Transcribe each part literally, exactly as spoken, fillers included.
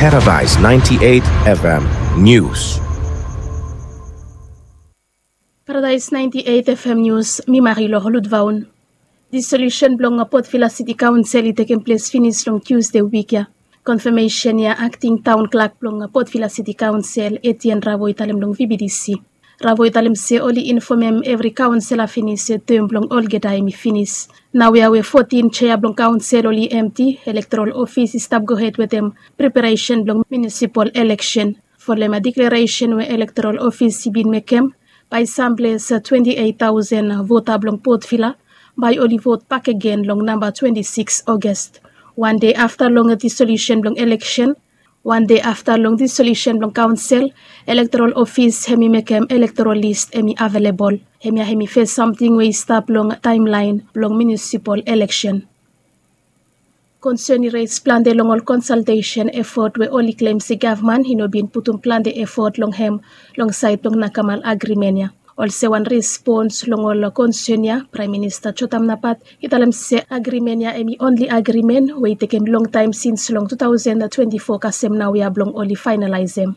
Paradise ninety-eight F M News. Paradise ninety-eight F M News, mi Marilor Ludvaun. Dissolution blong Port Vila City Council i tekem ples finis long Tuesday wik ya. Konfamesen ya, akting taon klak blong Port Vila City Council, Etienne Ravo, i talem long V B D C. Ravo i talem se oli infomem evri kaonsela finis se tem blong olgeta hemi finis. Naoia we fotin sea blong kaonsel oli emti, elektoral ofis i stap gohed wetem preparesen blong munisipal eleksen. Folem diklaresen we elektoral ofis i bin mekem, bae samples twenti eit taosen vota blong Port Vila bae oli vot bakegen long namba twenti sikis August. Wan dei afta long dissolution blong eleksen, wan dei afta long dissolution blong kaonsel, elektoral ofis hemi mekem elektoral lis hemi avelebol. Hemia hemi fes samting we i stap long taemlaen blong munisipal eleksen. Konsen i res plante long ol konsaltesen efot we oli klem se gavman i no bin putum plante efot long hem long saed blong nakamal agrimen ya. Olsem wan respons long ol konsen ya, Praem Minista Jotam Napat i talem se agrimen ya hemi onli agrimen we i tekem longtaem sins long tu taosen twenti fo kasem naoia blong oli faenalaesem.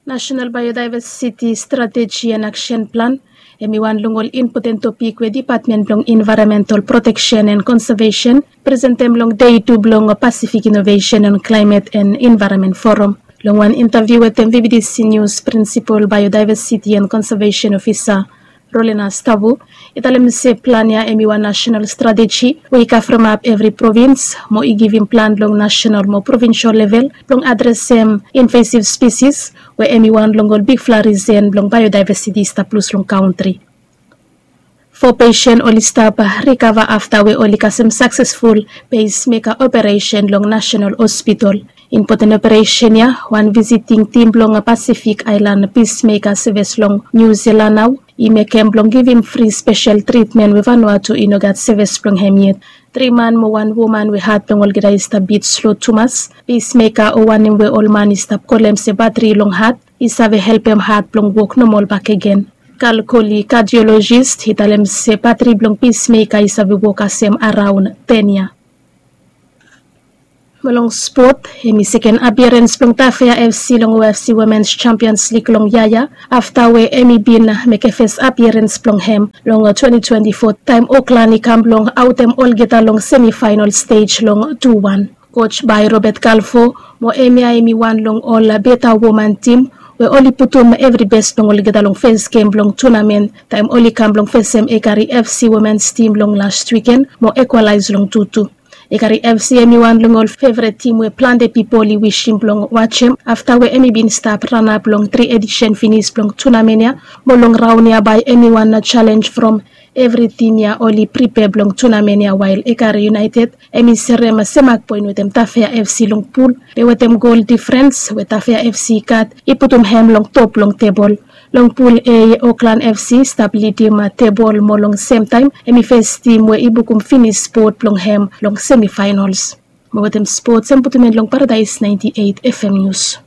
National Biodiversity Strategy and Action Plan hemi wan long ol impoten topik we Dipatmen blong Envaeronmental Proteksen and Konsavesen presentem long dei tu blong Pasifik Inovesen on Klaemet and Envaeronmen Foram. Long wan intaviu wetem V B D C Nius, Prinsipol Biodiversiti and Konsavesen Ofisa Rolena Stavu i talem se plan ya hemi wan nasenal strateji we i kavremap evri provins mo i givim plan long nasenal mo provinsol level blong adresem invasiv spisis we hemi wan long ol bigfala risen blong biodiversiti i stap lus long kantri. Fo pesen oli stap rikava afta we oli kasem saksesful pesmeka operesen long Nasenal Hospitol. Impoten operesen ya wan visiting tim blong Pasifik Aelan Pismeka Sevis long Niu Silan nao i mekem blong givim fri spesel tritmen we Vanuatu i no gat sevis blong hem yet. Tri man mo wan woman we hat blong olgeta i stap bit slo tumas. Pismeka o wanem we ol man i stap kolem se batri long hat i save helpem hat blong wok nomol bakegen. Kalkoli kadiolojis i talem se batri blong pismeka i save wok kasem araon ten yia. Mo long spot, hemi seken apiarens blong Tafea F C long O F C Womens Champions Lig long yia ya afta we hemi bin mekem fes apiarens blong hem long twenti twenti fo taem Oklan i kam blong aotem olgeta long semifaenol stej long tu wan. Koj bae Robert Kalfo mo hemia hemi wan long ol beta woman tim we oli putum evri bes blong olgeta long fes gem blong tunamen taem oli kam blong fesem Ekari F C womens tim long las wiken mo ikwalaes long tu tu. Ekari F C hemi wan long ol fevret tim we plante pipol i wisem blong wajem afta we hemi bin stap ranap long tri edisen finis blong tunamen ya mo long raon ya bae hemi wan jalenj from evri tim ya oli pripea blong tunamen ya wael Ekari United hemi serem semak poen wetem Tafea F C long pul be wetem gol difrens we Tafea F C i gat i putum hem long top blong tebol. Long pul A, Oklan F C i stap lidim tebol mo long semtaem hemi fes tim we i bukum finis spot blong hem long semifaenols. Mo wetem spots hem putum en long Paradaes naenti eit F M Nius.